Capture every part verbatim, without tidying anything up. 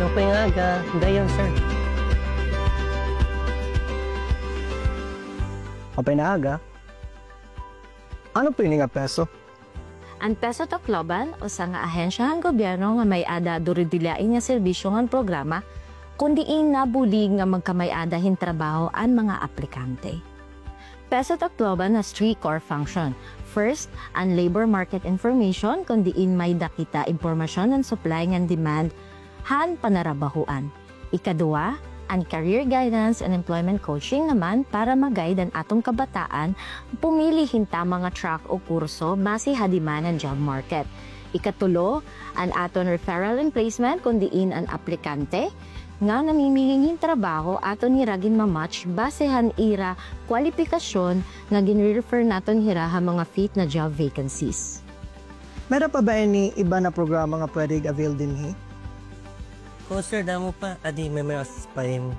Maupay nga aga. Dayon, sir. Maupay nga aga. Ano po ini nga PESO? An PESO Tacloban, usa nga ahensya han gobyerno nga may-ada duri-dirain nga serbisyo ngan programa, kon diin nabulig nga magkamay-ada hin trabaho an mga aplikante. PESO Tacloban has three core function. First, an labor market information, kon diin may-ada kita impormasyon han supply ngan demand han panarabahoan. Ikaduha, an career guidance and employment coaching naman para ma-guide an aton kabataan pumili hin tama nga track o kurso base ha demand han job market. Ikatulo, an aton referral and placement, kon diin an aplikante nga namimiling hin trabaho aton hira ginma-match base han ira kwalipikasyon nga ginre-refer naton hira ha mga fit na job vacancies. Meron pa ba ini iba na programa nga pwede i-avail dinhi? Oo, sir, damo pa. Adi, may, may assist pa rin.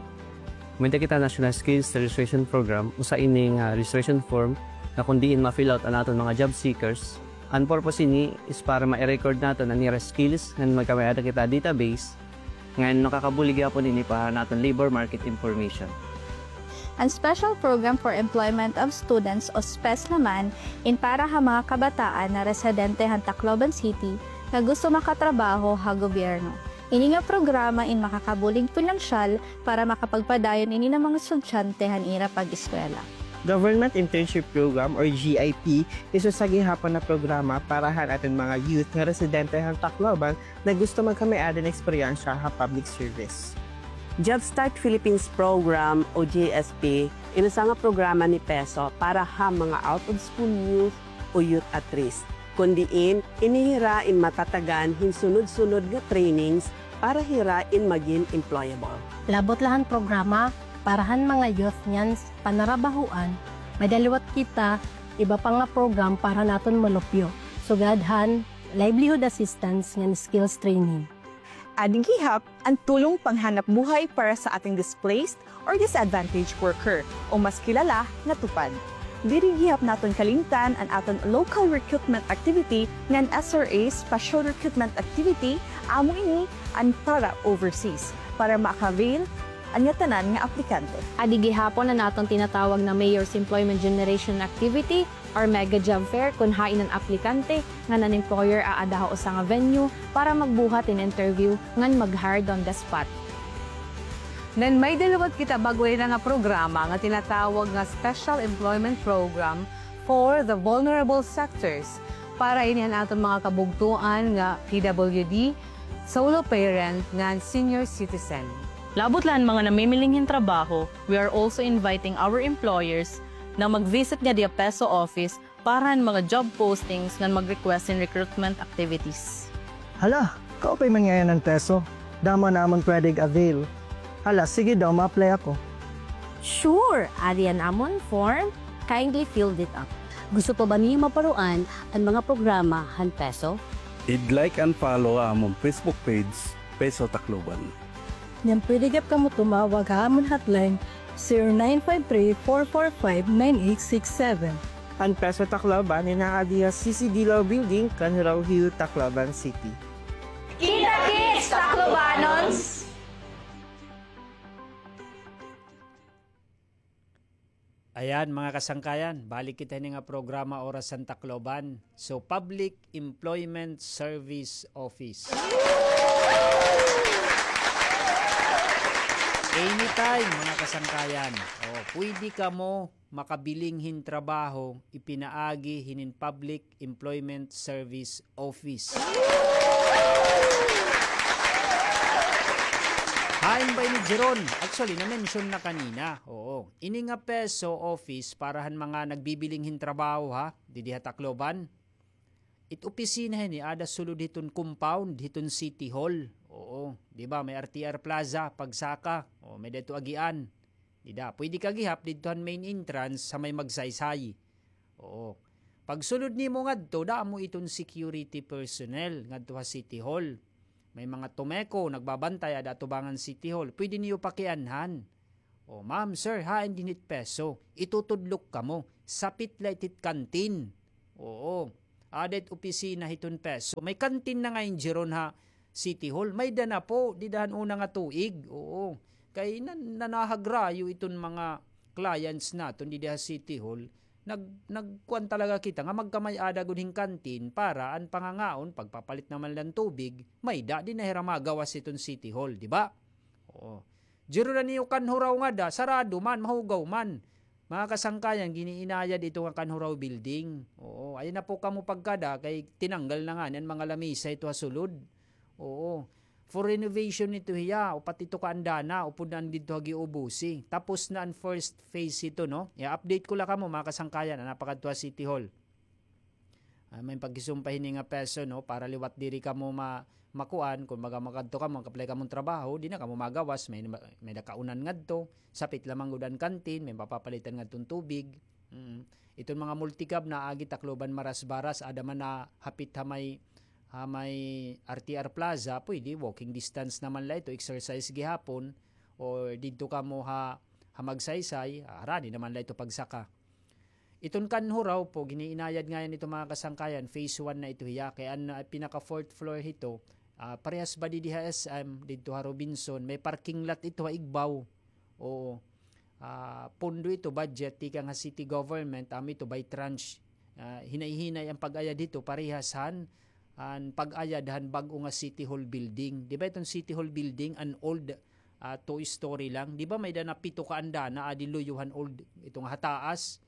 May-ada kita National Skills Registration Program, usa ini nga registration form na kon diin ma-fill out an aton mga job seekers. An purpose ini is para ma-record naton an ira skills ngan magkamay-ada kita database. Ngan makakabulig gihapon ini para han aton labor market information. An Special Program for Employment of Students o SPES naman in para ha mga kabataan na residente han Tacloban City nga gusto makatrabaho ha gobyerno. Ini nga programa in makakabulig pinansyal para makapagpadayon ini nga mga estudyante han ira pag-eskwela. Government Internship Program or G I P is usa gihapon na programa para han aton mga youth nga residente han Tacloban na gusto magkamay-ada hin eksperyensya ha public service. Job Start Philippines Program o J S P, in usa nga programa ni PESO para ha mga out-of-school youth o youth at risk. Kon diin, ini hira in matatagan hin sunod-sunod nga trainings para hira in magin employable. Labot la han programa para han mga youth ngan panarabahoan, may-ada liwat kita iba pa nga program para han aton molupyo, sugad han livelihood assistance ngan skills training. Adi gihap an tulong panghanapbuhay para sa ating displaced or disadvantaged worker o mas kilala nga TUPAD. Diri gihap naton kalimtan an aton local recruitment activity ngan S R A special recruitment activity, amo ini an para overseas, para maka-avail an ngatanan nga aplikante. Adi gihapon an aton tinatawag na Mayor's Employment Generation Activity or Mega Job Fair, kon hain an aplikante ngan an employer aada ha usa nga venue para magbuhat hin interview ngan mag-hired on the spot. Ngan may-ada liwat kita bag-o hira nga programa nga tinatawag nga Special Employment Program for the Vulnerable Sectors. Para ini han aton mga kabugtoan nga P W D, solo parent, ngan senior citizen. Labot la han mga namimiling hin trabaho, we are also inviting our employers na mag-visit ngadi ha PESO office para han mga job postings ngan mag-request hin recruitment activities. Hala, kaupay man ngay-an an PESO. Damo namon pwede ig-avail. Hala, sige daw, ma-apply ako. Sure! Adi an amon form. Kindly fill it up. Gusto pa ba niyo maparoan an mga programa han PESO? I-like and follow amon Facebook page, PESO Tacloban. Ngan pwede gihap kamo tumawag ha amon hotline, zero nine five three, four four five, nine eight six seven. An PESO Tacloban in aadi ha C C Dilaw Building, Conrao Hill, Tacloban City. Kita-kits, Taclobanons! Ayan, mga kasangkayan, balik kita hini nga programa Oras han Tacloban. So, Public Employment Service Office. Anytime, mga kasangkayan. O, pwede kamo makabiling hin trabaho, ipinaagi hinin Public Employment Service Office. Hain ba ini, Jeron? Actually, na-mention na kanina. Oo. Ini nga PESO office para han mga nagbibiling hin trabaho, ha? Didi ha Tacloban. It opisina hini, aada sulod hiton compound, hiton City Hall. Oo. Di ba? May R T R Plaza, pagsaka. O, may didto agian. Dida, pwede ka gihap didto han main entrance ha may Magsaysay. Oo. Pagsulod nimo ngadto, damo iton security personnel ngadto ha City Hall. May mga Tomeco nagbabantay ada atubangan City Hall. Pwede niyo pakianhan. O, ma'am, sir, hain dinhi it PESO? Itutudlok kamo. Sapit la it hit kantin. Oo. Ada it opisina hiton PESO. May kantin na ngay-an, Jeron, ha City Hall. May-ada na po, dida han una nga tuig. Oo. Kay nan-, nanahagrayo iton mga clients naton dida ha City Hall. Nag-, nagkuan talaga kita nga magkamay-ada gud hin kantin para an pangangaon, pagpapalit naman la hin tubig, may-ada, diri na hira magawas hiton City Hall, di ba? Oo. Jiro na niyo kanhuraw ngada, sarado man, mahugaw man. Mga kasangkayan, giniinayad ito nga kanhuraw building. Oo, ayaw na po kamo pagkada kay tinanggal na ngani an mga lamisa ito ha sulod. Oo. For renovation ito hiya, upat ito ka andana, upod na an didto ha G O B C. Tapos na an first phase ito, no? I-update ko la kamo, mga kasangkayan, an napakadto ha City Hall. Ah, may pagkisumpa hini nga peso, no? Para liwat diri kamo ma-, makuan, kun baga makadto kamo, mag-apply kamo hin trabaho, di na kamo magawas, may, may nakaunan ngadto, sapit lamang gud an kantin, may mapapalitan ngadton tubig. Mm. Iton mga multicab na agi Tacloban Marasbaras, ada man na hapit ha may, ha may R T R Plaza, pwede, walking distance naman la ito, exercise gihapon, or didto kamo ha, ha Magsaysay, ah, harani naman la ito pagsaka. Iton kanhuraw po, giniinayad ngayan ito, mga kasangkayan, phase one na ito hiya. Kay an, ah, pinaka fourth floor hito, ah, parehas ba didi ha S M, didto ha Robinson, may parking lot ito ha igbaw. Oo. Ah, pondo ito, budget, tikang ha city government, amo ito by tranche. Ah, hinay-hinay an pag-ayad hito, parehas han, an pag-ayad han bag-o nga City Hall building. Di ba iton City Hall building, an old, ah, two-story lang? Di ba may-ada na pito ka andana, adi luyo han old, ito nga ha taas?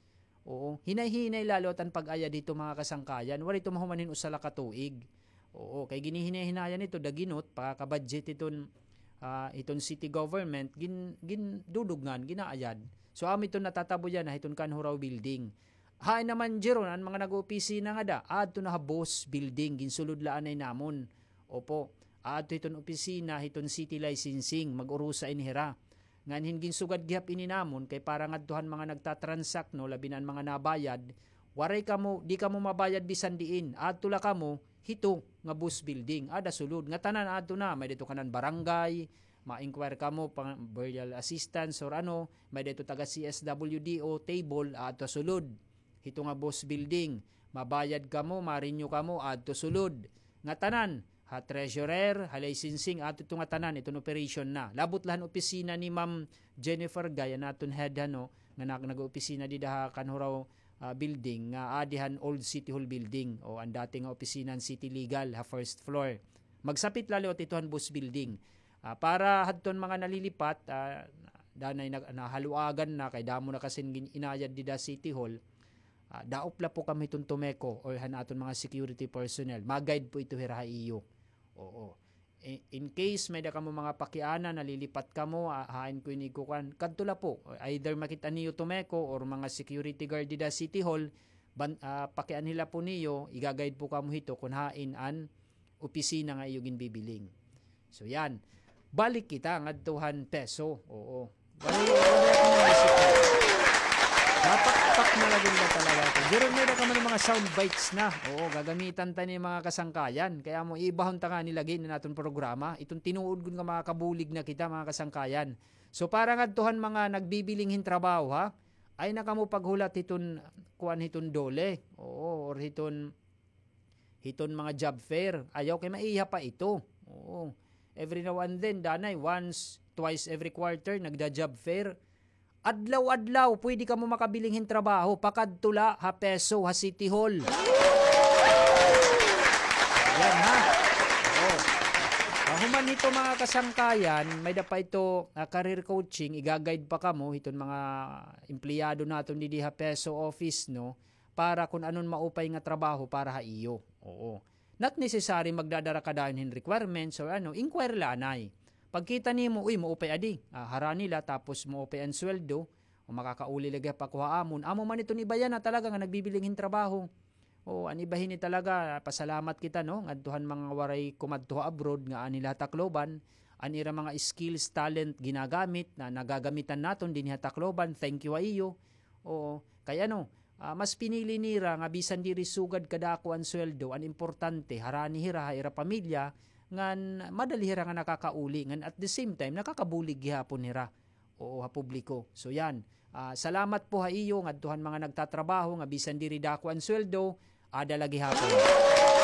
Oo, hinay-hinay la liwat an pag-ayad hito, mga kasangkayan. Waray ito mahuman hin usa la ka tuig. Oo, kay ginihinay-hinayan ito, daginot, pakakabudget hiton, ah, hiton city government, gin-, gindudugngan, ginaayad. So, amo iton natatabo yana hiton Kanhuraw Building. Hain naman, Jeron, an mga nag-oopisina ngada, adto na ha Boss Building, ginsulod la anay namon. Opo, adto hiton opisina, hiton city licensing, mag-urusa ini hira. Ngan hin ginsugad gihap ini namon kay para ngadto han mga nagtatransact, no, labi na an mga nabayad. Waray kamo, di kamo mabayad bisan diin. Adto la kamo hito nga Boss Building. Ada sulod. Ngatanan adto na, may-ada ito kanan barangay, ma-inquire kamo, pang-, burial assistance or ano, may-ada ito taga C S W D O table, adto sulod. Hito nga Boss Building. Mabayad kamo, ma-renew kamo, adto sulod. Ngatanan, ha treasurer, ha licensing, adto ito ngatanan, iton operation na. Labot la han opisina ni Ma'am Jennifer Gay, an aton head, ano, nga nag-, nag-opisina dida ha Kanhuraw, ah, building, nga adi han old City Hall building, o an dati nga opisina han City Legal, ha first floor. Magsapit la liwat ito han Boss Building. Ah, para hadton mga nalilipat, ah, danay na, nahaluagan na, kay damo na kasi gin-, inayad dida City Hall, ah, daop la po kamo hiton Tomeco or han aton mga security personnel. Ma-guide po ito hira ha iyo. Oo. I-, in case may-ada kamo mga pakiana, nalilipat kamo, ah, hain ko ini kukuan, kadto la po. Either makit-an niyo Tomeco or mga security guard dida City Hall, ban-, ah, pakianhi la po niyo, iga-guide po kamo hito kun hain an opisina nga iyo ginbibiling. So, yan. Balik kita ngadto han PESO. Oo. Waray, waray ako naisip. Napakpak na lagi nila talaga ako. Pero may-ada ka man mga sound bites na. Oo, gagamitan ta ni mga kasangkayan. Kay amo, iibahon ta ngani lagi ini aton programa. Iton tinuod gud nga makakabulig na kita, mga kasangkayan. So, para ngadto han mga nagbibiling hin trabaho, ha? Ayaw na kamo paghulat hiton, kuan, hiton DOLE. Oo, or hiton hiton mga job fair. Ayaw kay maiha pa ito. Oo. Every now and then, danay, once, twice every quarter, nagda-job fair. Adlaw-adlaw, pwede kamo makabiling hin trabaho. Pakadto la ha PESO, ha City Hall. Yan, ha? Oo. Pahuman hito, mga kasangkayan, may-ada pa ito, ah, career coaching, iga-guide pa kamo, hiton mga empleyado naton didi ha PESO office, no? Para kun anon maupay nga trabaho para ha iyo. Oo. Not necessary magdadara ka dayon hin requirements or ano, inquire la anay. Pagkita nimo, uy, maupay adi, ah, harani la, tapos maupay an sweldo, o makakauli la gihap ako ha amon. Amo man iton iba yana talaga nga nagbibiling hin trabaho. Oo, an iba hini talaga, pasalamat kita, no? Ngadto han mga waray kumadto ha abroad nga anhi la ha Tacloban, an ira mga skills, talent, ginagamit, na nagagamitan naton dinhi ha Tacloban, thank you ha iyo. Oo, kay ano, ah, mas pinili nira nga bisan diri sugad kadako an sweldo, an importante, harani hira ha ira pamilya, ngan madali hira nga nakakauli, ngan at the same time, nakakabulig gihapon hira. Oo, ha publiko. So, yan. Ah, salamat po ha iyo, ngadto han mga nagtatrabaho, nga bisan diri dako an sweldo, ada la gihapon.